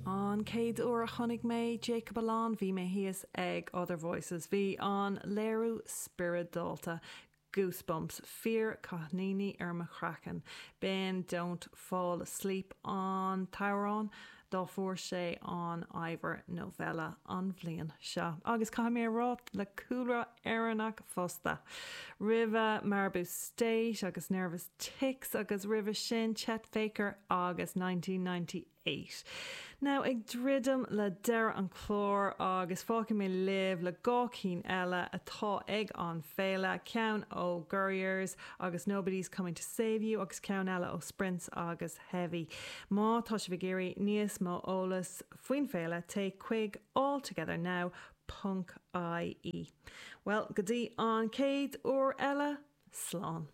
An chéad uair a chonaic mé Jacob Alon bhí mé thíos ag Other Voices. Bhí an léiriú spioradálta. Goosebumps, fíor cáithníní ar mo chraiceann. B'in Don't Fall Asleep an t-amhrán dá fuair sé an Ivor Novello an bhliain seo. Agus caithfidh mé a rá, le cúlra Éireannach fosta. Roimhe Maribou State agus Nervous Tics agus roimhe sin Chet Faker agus 1998. Now ag druidim le deireadh an chláir agus fágfaidh mé libh le dhá cinn eile atá ag an féile, ceann ó Gurriers agus Nobody's Coming to Save You agus ceann eile ó Sprints agus Heavy. Má tá sibh ag iarraidh níos mó eolas faoin féile téigh chuig alltogethernow ponc ie. Bhuel, go dtí an chéad uair eile, slán.